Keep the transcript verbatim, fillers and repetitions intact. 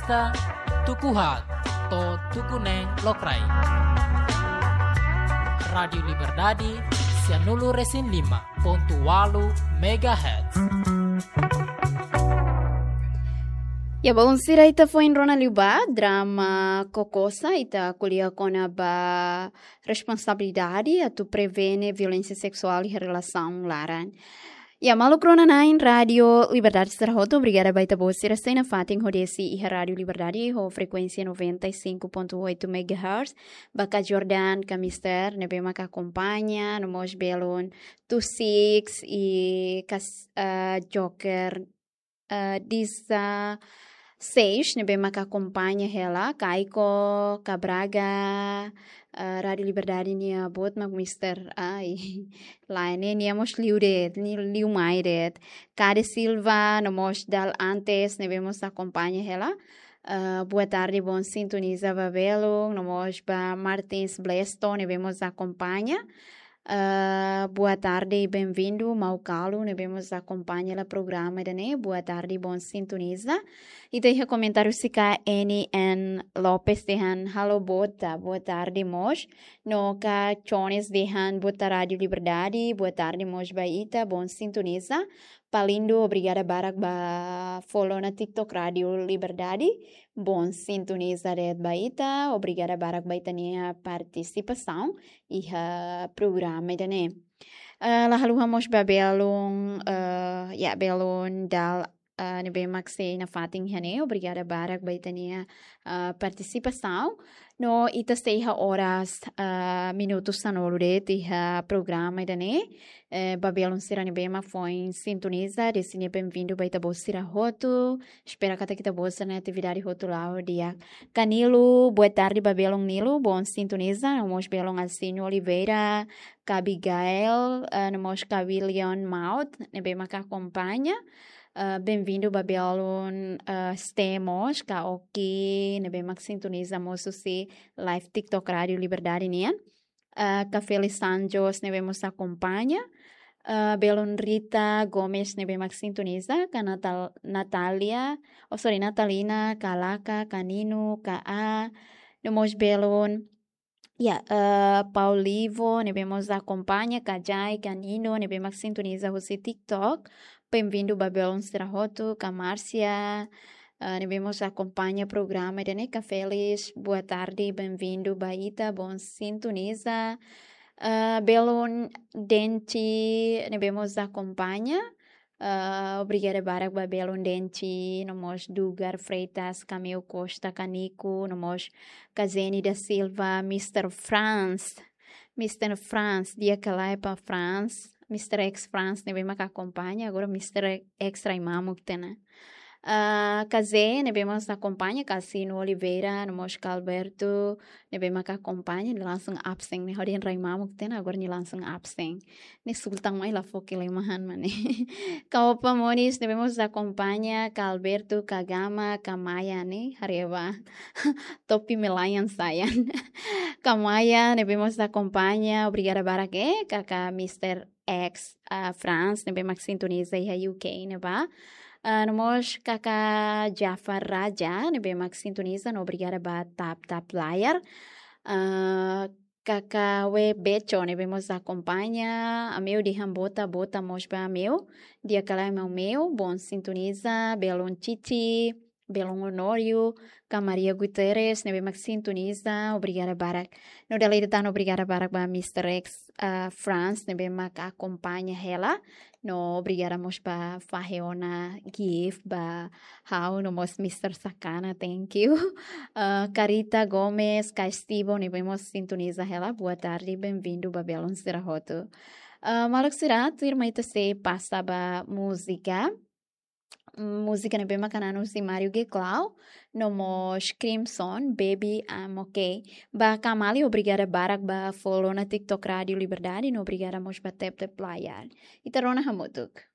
Ita tuku haat to'o tuku neen lokraik. Rádiu Liberdade, sianulu resin lima pontu walu megahertz. Ya, baun sira, ita foin rona liu ba drama Kokosa, ita ko'alia kona-ba responsabilidade atu prevene violénsia seksuál iha relasaun laran. Ya, maluk rona-na'in Rádiu Liberdade sira hotu, obrigada ba ita-boot sira sei nafatin hodi asiste iha Rádiu Liberdade ho frekuénsia noventa e cinco ponto oito megahertz, ba ka Jordan, ka Mister, ne'ebé maka akompaña, no mós belun Tu Six i kas-, eh, Joker, eh, Disa Seis, ne'ebé maka akompaña hela, Kaiko, ka Braga, eh, Rádiu Liberdade nia boot mak Mister, ai, lae, ne'e nia mós liu de'it, nia liu mai de'it. Kade Silva, no mós Dal Antes, ne'ebé mós akompaña hela. Eh, boa tarde, bom sintoniza ba belun, no mós ba Martins Blesto, ne'ebé mós akompaña. Eh, boa tarde, bem-vindo, Mau Kalu, ne'ebé mós akompaña hela programa ida-ne'e. Boa tarde, bom sintoniza. Ita iha komentáriu sira ka N N Lopes dehan, halo Bota, boa tarde mós. No ka Jones dehan, boa tarde Rádiu Liberdade, boa tarde mós ba ita, bom sintoniza. Palindo, obrigada barak ba follow ona TikTok Rádiu Liberdade. Bom sintoniza de'it ba ita, obrigada barak ba ita-nia partisipasaun iha programa ida-ne'e. Eh, la haluha mós ba belun, eh, ya, belun Dal, eh, ne'ebé mak sei nafatin iha ne'e, obrigada barak ba ita-nia, eh, partisipasaun. No ita sei iha oras, eh, minutu sanulu de'it iha programa ida-ne'e. Eh, ba belun sira ne'ebé mak foin sintoniza, dehan bem-vindo ba ita-boot sira hotu. Espera katak ita-boot sira-nia atividade hotu la'o di'ak. Ka Nilo, boa tarde ba belun Nilo, bom sintoniza, no mós belun Alcino Oliveira, ka Abigail, eh, no mós ka William Maut, ne'ebé maka akompaña. Eh, bem-vindo ba belun, eh, Ste mós, ka Oki, ne'ebé mak sintoniza mós husi live TikTok Rádiu Liberdade nian. Eh, ka Felis Sanjos, ne'ebé mós akompaña. Eh, belun Rita Gomes, ne'ebé mak sintoniza, ka Natal-, Natalia, oh, sorry, Natalina, ka Laka, ka Nino, ka A, no mós belun, ya, eh, Paulivo, ne'ebé mós akompaña, ka Jai, ka Nino, ne'ebé mak sintoniza husi TikTok. Bem-vindo ba belun sira hotu, ka Márcia, eh, ne'ebé mós akompaña programa ida-ne'e, ka Felis, boa tarde, bem-vindo ba ita, bom sintoniza. Eh, belun Denti, ne'ebé mós akompaña. Eh, obrigada barak ba belun Denti, no mós Dugar Freitas, Cameu Costa, ka Nico, no mós ka Zeni da Silva, Mister Franz. Mister Franz, di'ak ka lae ba Franz, Mister X Franz, ne'ebé maka akompaña, agora Mister X rai mamuk tiha ona. Ah, ka Zé, ne'ebé mós akompaña, ka Sino Oliveira, no mós ka Alberto, ne'ebé maka akompaña, nia langsung absen, ne'e hodi rai mamuk tiha ona, agora nia langsung absen. Ne'e sultan mai la fó kelemahan mak ne'e. Ka Opa Monis, ne'ebé mós akompaña, ka Alberto, ka Gama, ka Maya ne'e, haree ba. Topi melayan sayan. Ka Maya, ne'ebé mós akompaña, obrigada barak, eh, ka, ka Mister X, ah, Franz, ne'ebé mak sintoniza iha U K ne'ebá. Ah, no mós ka, ka Jafar Raja, ne'ebé mak sintoniza, no obrigada ba tap tap layar. Ah, ka, ka We Becho, ne'ebé mós akompaña, Ameu dehan Bota, Bota mós ba Ameu, di'ak ka lae Ameu, bom sintoniza, belun Titi, belun Honório, ka Maria Guterres, ne'ebé mak sintoniza, obrigada barak. No dala ida tan obrigada barak ba Mister X, ah, Franz, ne'ebé mak akompaña hela. No obrigada mós ba fahe ona gift ba ha'u, no mós Mister Sakana, thank you. Ah, Carita Gomes, ka Estivo, ne'ebé mós sintoniza hela, boa tarde, bem-vindo ba belun sira hotu. Ah, maluk sira, tuirmai ita sei pasa ba múzika. Múzika ne'ebé maka naran husi Mario G Clau, no mós Crimson, Baby, I'm Okay. Ba Kamali, obrigada barak ba follow ona TikTok Rádiu Liberdade, no obrigada mós ba tap tap layar. Ita rona hamutuk.